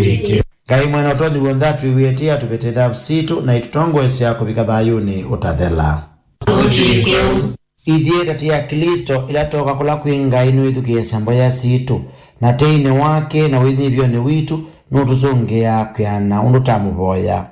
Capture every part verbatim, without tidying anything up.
Ngai Mwene Ũtonyi W'onthe atwĩw'ĩe tei, atũvĩte thavu sitũ, na ĩtũtongoesya kũvika thayũnĩ ũtathela. Ũtw'ĩke ũu. Ithyĩ ta ti Aklĩsto, ĩla twoka kũla kwĩ Ngai, nũĩthukĩĩasya mboya sitũ, na teinĩ wake na wĩnyivĩonĩ witũ, nũtũsũngĩaa kwĩana ũndũ tamũvoya.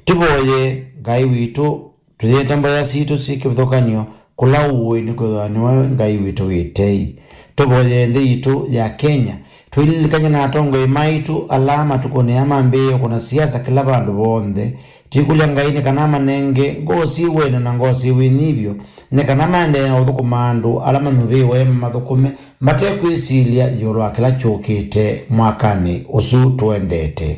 Tũvoye Ngai witũ, tũyĩte mboya sitũ syĩ kĩvathũkany'o kũla ũĩ, nĩkwĩthĩwa nĩwe Ngai witũ wĩ tei. Tũvoye nthĩ yitũ ya Kenya, twĩlilikany'e na atongoi maitũ ala matukũnĩ aa mambĩĩe kũna siasa kĩla vandũ vonthe. Twĩkũlya Ngai nĩ kana amanenge ngoo syĩ wendo na ngoo syĩ wĩnyivyo, nĩ kana maendee na ũthũkũma andũ ala manyuvĩwe mamathũkũme mate kwĩsilya ĩũlũ wa kĩla kyũkĩte mwakanĩ ũsu tũendete.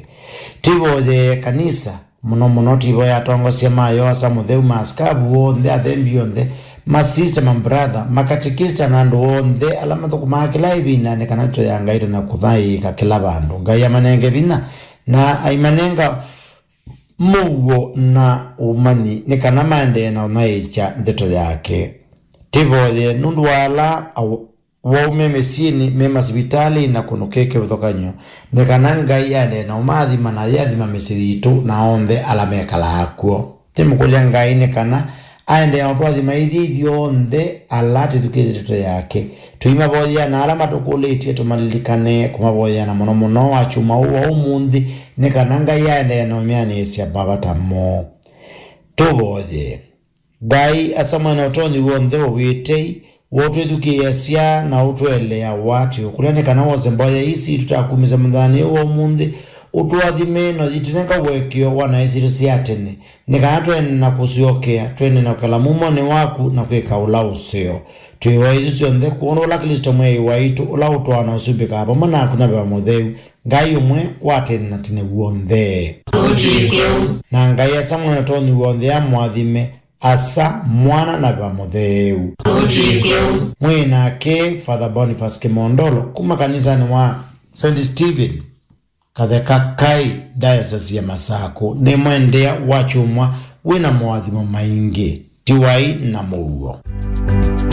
Twĩvoyee kanisa, mũno mũno twĩvoya atongosya ma Yoasa Mũtheu, ma asikavu onthe, athembi onthe, masista, mambratha, makatikista na andũ onthe ala mathũkũmaa kĩla ĩvinda, nĩ kana ndeto ya Ngai ĩtonya kũthaĩĩka kĩla vandũ. Ngai amanenge vinya na aimanenga mũuo na ũmanyi, nĩ kana maendee na ũthaĩĩkya ndeto yake. Tĩvoye nũndũ wa ala awau me mĩsyĩnĩ, me masivitalĩnĩ na kũndũ kwĩ kĩvathũkany'o, nĩ kana Ngai aendee na ũmaathima na ayĩathima mĩsyĩ yitũ na onthe ala mekalaa kw'o. Tĩmũkũlya Ngai nĩ kana aendee na ũtũathima ithyĩ ithyonthe ala twĩthukĩĩsye ndeto yake. Tũimavoyea na ala matũkũlĩtye tũmalilikane kũmavoyea, na mũno mũno wakyumwa ũũ wa ũmũnthĩ, nĩ kana Ngai aendee na ũmĩanĩĩsya mavata moo. Tũvoye. Ngai, Asa Mwene Ũtonyi W'onthe, we wĩ tei, we ũtwĩthukĩĩasya na ũtũeleawa, twĩũkũlya nĩ kana wose mboya ii sitũ tũtakumĩsya mũthenyanĩ ũũ wa ũmũnthĩ, ũtũathime na ũyĩtũnenga ũekeo wa naĩ sitũ sya tene, nĩ kana tũendee na kũsyokea, tũendee na kwĩkala mumonĩ waku na kwĩka ũla ũseo. Twĩvoya isu syonthe kwondũ ũla Klĩsto Mwĩai waitũ, ũla ũtũaa na ũsumbĩkaa vamwe naku na Veva Mũtheu, Ngai ũmwe, kwa tene na tene w'onthe. Ũtw'ĩke ũu. Na Ngai Asa Mwene Ũtonyi W'onthe amũathime, Asa, Mwana, na Veva Mũtheu. Ũtw'ĩke ũu. Mwĩ nake Father Boniface Kĩmondolo kuma kanisanĩ wa Saint Stephen Katheka Kai, Diocese ya Masakũ. Nĩ mwendeea wakyumwa wĩ na moathimo maingĩ. Tiwai na mũuo.